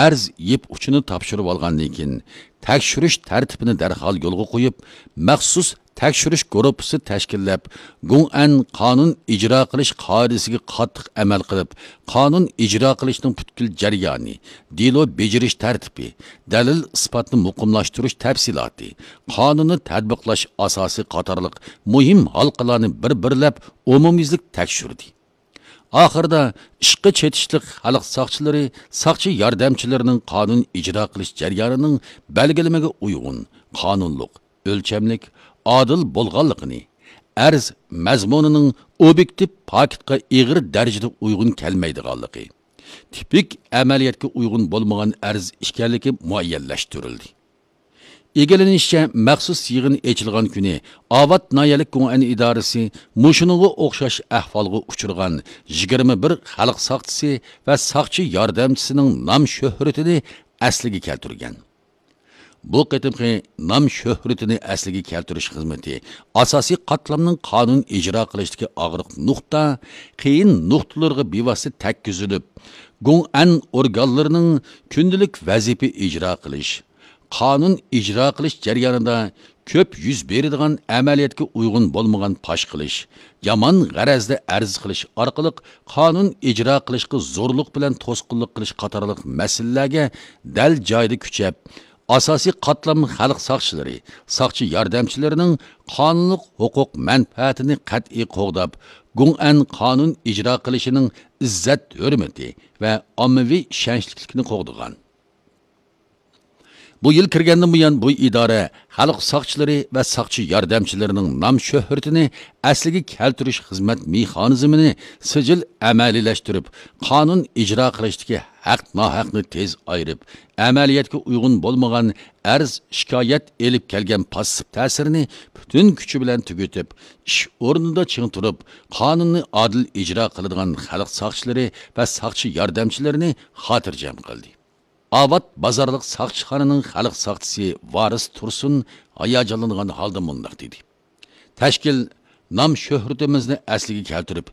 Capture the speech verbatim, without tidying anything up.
ئەرز يىپ ئۇچىنى تاپشۇرۇۋالغاندىن كېيىن، تەكشۈرۈش تەرتىپىنى دەرھال يولغا قويۇپ، مەخسۇس تەكشۈرۈش گۇرۇپپىسى تەشكىللەپ، گۇڭئەن قانۇن ئىجرا قىلىش قائىدىسىگە قاتتىق ئەمەل قىلىپ، قانۇن ئىجرا قىلىشنىڭ پۈتكۈل جەريانى، دېلو بېجىرىش تەرتىپى، دەلىل ئىسپاتنى مۇقىملاشتۇرۇش تەپسىلاتى، قانۇننى تەتبىقلاش ئاساسى قاتارلىق مۇھىم ھالقىلارنى بىر بىرلەپ ئومۇميۈزلۈك تەكشۈردى. ئاخىرىدا ئىشقا چېتىشلىق خەلق ساقچىلىرى ساقچى ياردەمچىلىرىنىڭ قانۇن ئىجرا قىلىش جەريانىنىڭ بەلگىلىمىگە ئۇيغۇن، قانۇنلۇق، ئۆلچەملىك، ئادىل بولغانلىقىنى، ئەرز مەزمۇنىنىڭ ئوبيېكتىپ پاكىتقا ئېغىر دەرىجىدە ئۇيغۇن كەلمەيدىغانلىقى، تىپىك ئەمەلىيەتكە ئۇيغۇن بولمىغان ئەرز ئىكەنلىكى مۇئەييەنلەشتۈرۈلدى. ئىگىلىنىشىچە، مەخسۇس يىغىن ئېچىلغان كۈنى ئاۋات ناھىيەلىك گۇڭئەن ئىدارىسى مۇشۇنىڭغا ئوخشاش ئەھۋالغا ئۇچرىغان يىگىرمە بىر خەلق ساقچىسى ۋە ساقچى ياردەمچىسىنىڭ نام شۆھرىتىنى ئەسلىگە كەلتۈرگەن. بۇ قېتىمقى نام شۆھرىتىنى ئەسلىگە كەلتۈرۈش خىزمىتى ئاساسىي قاتلامنىڭ قانۇن ئىجرا قىلىشتىكى ئاغرىق نۇقتا، قىيىن نۇقتىلىرىغا بىۋاسىتە تەگكۈزۈلۈپ، گۇڭئەن ئورگانلىرىنىڭ كۈندىلىك ۋەزىپە ئىجرا قىلىش، قانۇن ئىجرا قىلىش جەريانىدا كۆپ يۈز بېرىدىغان ئەمەلىيەتكە ئۇيغۇن بولمىغان پاش قىلىش، يامان غەرەزدە ئەرز قىلىش ئارقىلىق قانۇن ئىجرا قىلىشقا زورلۇق بىلەن توسقۇنلۇق قىلىش قاتارلىق مەسىلىلەرگە دەل جايىدا كۈچەپ، ئاساسىي قاتلام خەلق ساقچىلىرى، ساقچى ياردەمچىلىرىنىڭ قانۇنلۇق ھوقۇق مەنپەئەتىنى قەتئىي قوغداپ، گۇڭئەن قانۇن ئىجرا قىلىشىنىڭ ئىززەت ھۆرمىتى ۋە ئاممىۋى ئىشەنچلىكلىكىنى قوغدىغان. بۇ يىل كىرگەندىن بۇيان، بۇ ئىدارە خەلق ساقچىلىرى ۋە ساقچى ياردەمچىلىرىنىڭ نام شۆھرىتىنى ئەسلىگە كەلتۈرۈش خىزمەت مېخانىزمىنى سىجىل ئەمەلىيلەشتۈرۈپ، قانۇن ئىجرا قىلىشتىكى ھەق ناھەقنى تېز ئايرىپ، ئەمەلىيەتكە ئۇيغۇن بولمىغان ئەرز شىكايەت ئېلىپ كەلگەن پاسسىپ تەسىرىنى پۈتۈن كۈچى بىلەن تۈگىتىپ، ئىش ئورنىدا چىڭ تۇرۇپ، قانۇننى ئادىل ئىجرا قىلىدىغان خەلق ساقچىلىرى ۋە ساقچى ياردەمچىلىرىنى خاتىرجەم قىلدى. ئاۋات بازارلىق ساقچىخانىنىڭ خەلق ساقچىسى ۋارىس تۇرسۇن ھاياجانلانغان ھالدا مۇنداق دېدى: تەشكىل نام شۆھرىتىمىزنى ئەسلىگە كەلتۈرۈپ،